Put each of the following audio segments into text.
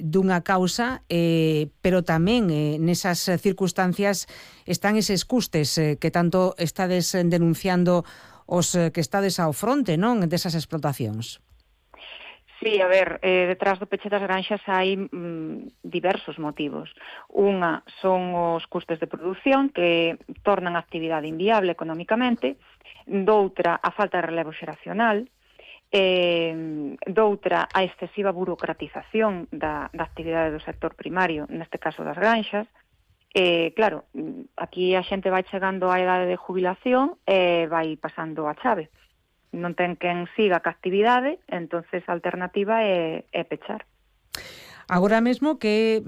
dunha causa, pero tamén nesas circunstancias están eses custes que tanto estades denunciando os que estades ao fronte, non, desas explotacións. Sí, a ver, detrás do peche das granxas hai diversos motivos. Unha son os custes de produción que tornan a actividade inviable económicamente, doutra a falta de relevo xeracional, doutra a excesiva burocratización da actividade do sector primario, neste caso das granxas. Claro, aquí a xente vai chegando á idade de jubilación e vai pasando a chave. Non ten quen siga ca actividade, entonces a alternativa é pechar. Agora mesmo que,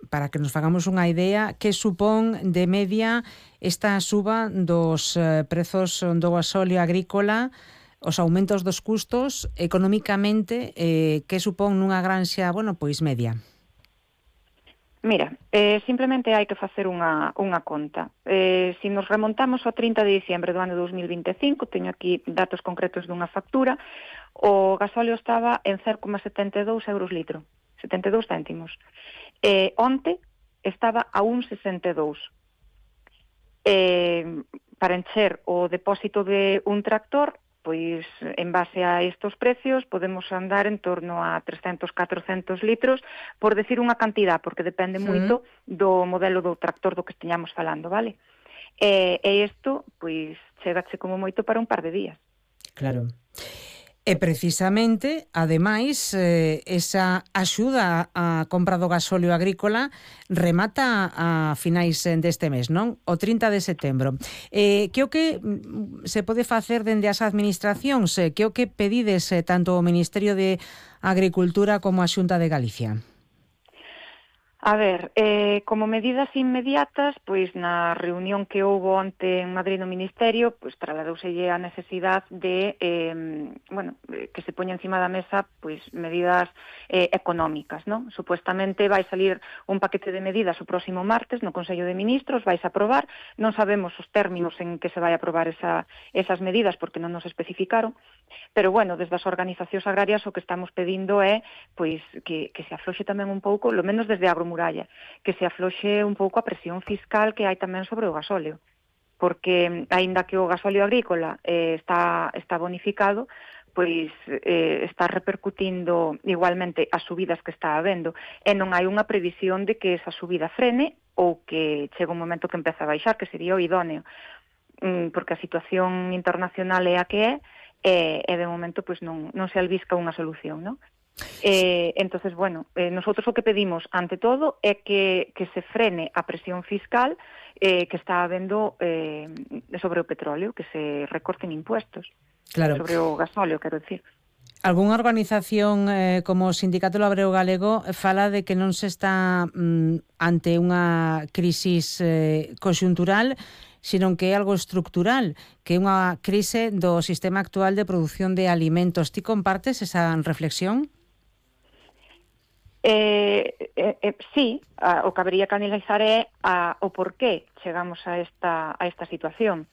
para que nos fagamos unha idea, que supón de media esta suba dos prezos do gasóleo agrícola, os aumentos dos custos, económicamente, que supón nunha granxa, bueno, pois media? Mira, simplemente hai que facer unha conta. Se nos remontamos ao 30 de diciembre do ano 2025, teño aquí datos concretos dunha factura, o gasóleo estaba en 0,72 euros litro, 72 céntimos. Onte estaba a 1,62. Para encher o depósito de un tractor, pois en base a estos precios podemos andar en torno a 300-400 litros, por decir unha cantidad, porque depende moito do modelo do tractor do que esteñamos falando, vale? E isto, pois, chegache como moito para un par de días. Claro. E precisamente, ademais, esa axuda á compra do gasóleo agrícola remata a finais deste mes, non? O 30 de setembro. Que o que se pode facer dende as administracións? Que o que pedides tanto o Ministerio de Agricultura como a Xunta de Galicia? A ver, como medidas inmediatas, pois na reunión que houbo onte en Madrid no Ministerio, pois trasladouselle a necesidade de, que se poña encima da mesa pois medidas económicas, non? Supuestamente vai salir un paquete de medidas o próximo martes no Consello de Ministros, vais a aprobar, non sabemos os términos en que se vai aprobar esas medidas porque non nos especificaron, pero bueno, desde as organizacións agrarias o que estamos pedindo é pois que se afloxe tamén un pouco, lo menos desde Agromuralla, que se afloxe un pouco a presión fiscal que hai tamén sobre o gasóleo, porque aínda que o gasóleo agrícola está bonificado, pois está repercutindo igualmente as subidas que está habendo, e non hai unha previsión de que esa subida frene ou que chegue un momento que empeza a baixar, que sería o idóneo, porque a situación internacional é a que é, e de momento pois non se albisca unha solución, non? Entonces, bueno, nosotros o que pedimos ante todo é que se frene a presión fiscal que está habendo sobre o petróleo, que se recorten impuestos, claro, sobre o gasóleo, quero dicir. Algúnha organización como o Sindicato Labreo Galego fala de que non se está ante unha crisis conxuntural, sino que é algo estructural, que é unha crise do sistema actual de produción de alimentos. Ti compartes esa reflexión? Sí, o que habería que analizar é o porqué chegamos a esta situación.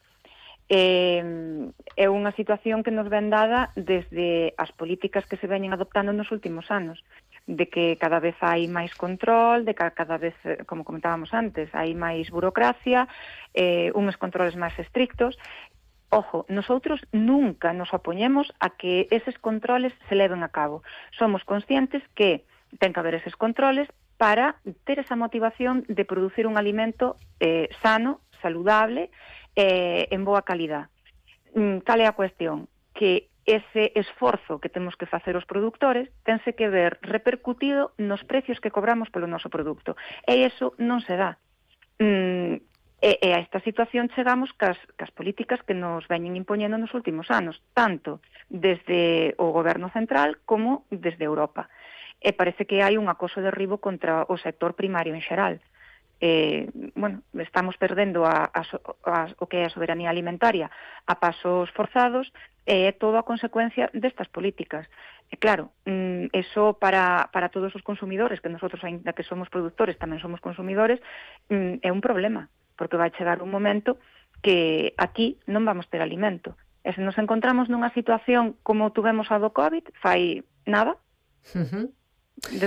É unha situación que nos ven dada desde as políticas que se veñen adoptando nos últimos anos, de que cada vez hai máis control, de que cada vez, como comentábamos antes, hai máis burocracia, uns controles máis estrictos. Ojo, nosotros nunca nos opoñemos a que eses controles se leven a cabo. Somos conscientes que ten que haber eses controles para ter esa motivación de producir un alimento sano, saludable, en boa calidad. Cal é a cuestión? Que ese esforzo que temos que facer os produtores tense que ver repercutido nos precios que cobramos polo noso produto. E iso non se dá. E a esta situación chegamos cas políticas que nos veñen impoñendo nos últimos anos, tanto desde o goberno central como desde Europa. E parece que hai un acoso de derribo contra o sector primario en xeral. Estamos perdendo o que é a soberanía alimentaria a pasos forzados, e é todo a consecuencia destas políticas. E claro, eso para todos os consumidores, que nosotros, ainda que somos produtores, tamén somos consumidores, é un problema, porque vai chegar un momento que aquí non vamos ter alimento. E se nos encontramos nunha situación como tuvemos a do COVID, fai nada,